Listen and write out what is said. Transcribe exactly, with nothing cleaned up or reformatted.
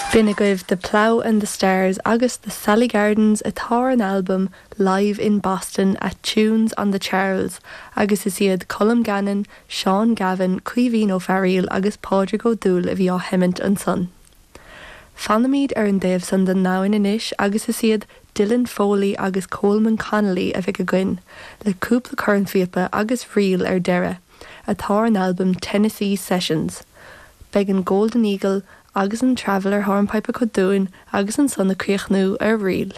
B'in agaibh The Plough and the Stars agus the Sally Gardens atá ar an albam Live in Boston at Tunes on the Charles agus is iad Colm Gannon, Seán Gavin, Caoimhín Ó Fearghaíl agus Pádraig Ó Dúill a bhí á sheimint ansan. Fanfaimid ar an dtaobh san den domhan anois agus is iad Dylan Foley agus Coleman Connolly a bheidh againn, le cúpla cornphíopa agus ríl ar deireadh, atá ar an albam Tennessee Sessions. Beidh an Golden Eagle agus an Traveller hornpipe acu dúinn agus ansan ag críochnú ar ríl.